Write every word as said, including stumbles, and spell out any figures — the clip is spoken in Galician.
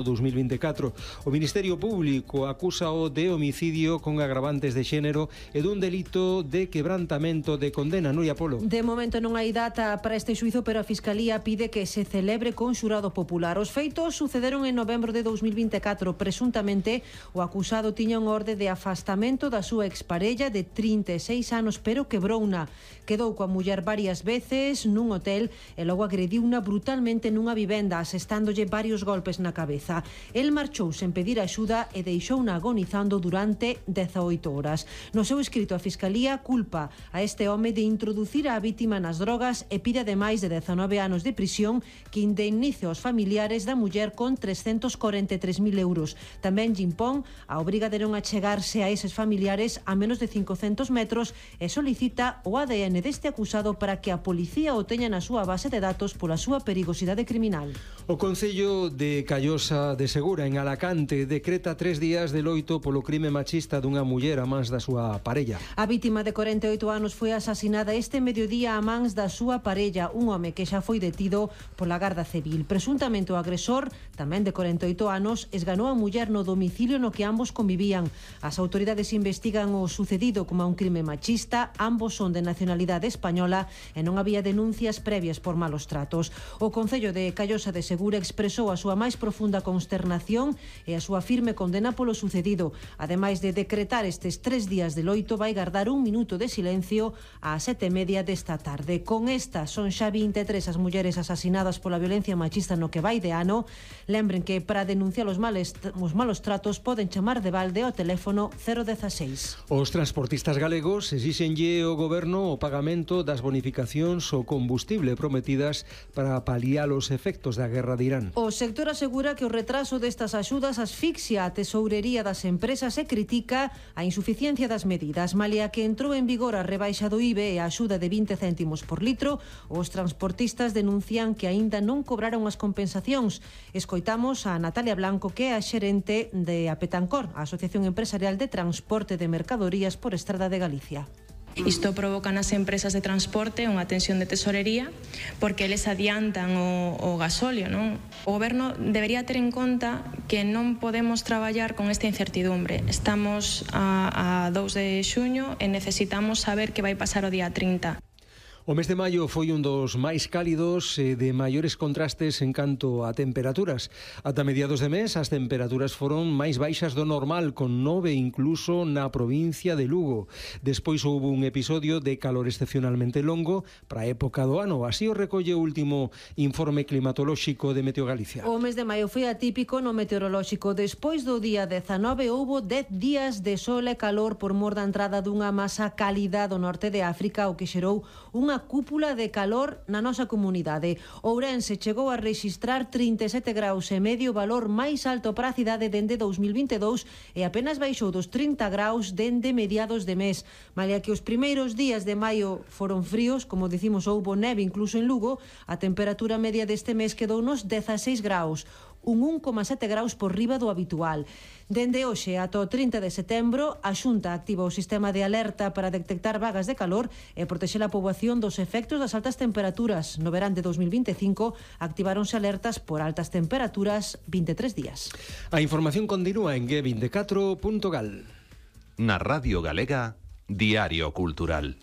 dos mil vinte e catro. O Ministerio Público acúsao de homicidio con agravantes de xénero e dun delito de quebrantamento de condena. Nuria Polo. De momento non hai data para este xuizo, pero a Fiscalía pide que se celebre con xurado popular. Os feitos sucederon en novembro de dos mil vinte e catro. Presuntamente, o acusado tiña un orde de afastamento da súa exparella de trinta e seis anos, pero quebrouna. Quedou coa muller varias veces nun hotel e logo agrediuna brutalmente nunha vivenda, asestándolle varios golpes na cabeza. El marchou sen pedir axuda e deixouna agonizando durante dezaoito horas. No seu escrito, a Fiscalía culpa a este home de introducir a vítima nas drogas e pide ademais de dezanove anos de prisión que indemnice aos familiares da muller con trescentos corenta e tres mil euros. Tamén lle impón a obriga de non achegarse a eses familiares a menos de cincocentos metros e solicita o A D N deste acusado para que a policía o teña na súa base de datos pola súa perigosidade criminal. O Concello de Callosa de Segura, en Alacante, decreta tres días de loito polo crime machista dunha muller a mans da súa parella. A vítima de corenta e oito anos foi asasinada este mediodía a mans da súa parella, un home que xa foi detido pola Garda Civil. Presuntamente o agresor, tamén de corenta e oito anos, esganou a muller no domicilio no que ambos convivían. As autoridades investigan o sucedido como un crime machista, ambos son de nacionalidade española e non había denuncias previas por malos tratos. O Concello de Callosa de Segura expresou a súa máis profunda consternación e a súa firme condena polo sucedido. Ademais de decretar estes tres días de loito, vai gardar un minuto de silencio ás sete e media desta tarde. Con esta son xa vinte e tres as mulleres asasinadas pola violencia machista no que vai de ano. Lembren que para denunciar os, males, os malos tratos poden chamar de balde ao teléfono cero dieciséis. Os transportistas galegos exixenlle ao goberno o pagamento das bonificacións ao combustible prometidas para paliar os efectos da guerra de Irán. O sector asegura que o retraso destas axudas asfixia a tesourería das empresas e critica a insuficiencia das medidas. Malia que entrou en vigor a rebaixa do I V E e a axuda de vinte céntimos por litro, os transportistas denuncian que aínda non cobraron as compensacións. Escoitamos a Natalia Blanco, que é a xerente de Apetancor, a Asociación Empresarial de Transporte de Mercadorías por Estrada de Galicia. Isto provoca nas empresas de transporte unha tensión de tesorería porque eles adiantan o, o gasóleo, non? O goberno debería ter en conta que non podemos traballar con esta incertidumbre. Estamos a, a dous de xuño e necesitamos saber que vai pasar o día trinta. O mes de maio foi un dos máis cálidos e de maiores contrastes en canto a temperaturas. Ata mediados de mes as temperaturas foron máis baixas do normal, con nove incluso na provincia de Lugo. Despois houve un episodio de calor excepcionalmente longo para a época do ano. Así o recolle o último informe climatolóxico de Meteo Galicia. O mes de maio foi atípico no meteorolóxico. Despois do día dezanove houbo dez días de sol e calor por mor da entrada dunha masa cálida do norte de África, o que xerou unha cúpula de calor na nosa comunidade. Ourense chegou a rexistrar trinta e sete graus e medio, valor máis alto para a cidade dende dous mil vinte e dous, e apenas baixou dos trinta graus dende mediados de mes. Malia que os primeiros días de maio foron fríos, como dicimos, houbo neve incluso en Lugo, a temperatura media deste mes quedou nos dezaseis graus, un un coma sete graus por riba do habitual. Dende hoxe ata o trinta de setembro, a Xunta activa o sistema de alerta para detectar vagas de calor e protexer a poboación dos efectos das altas temperaturas. No verán de dos mil vinte e cinco activáronse alertas por altas temperaturas vinte e tres días. A información continúa en ge vinte e catro punto gal. Na Radio Galega, Diario Cultural.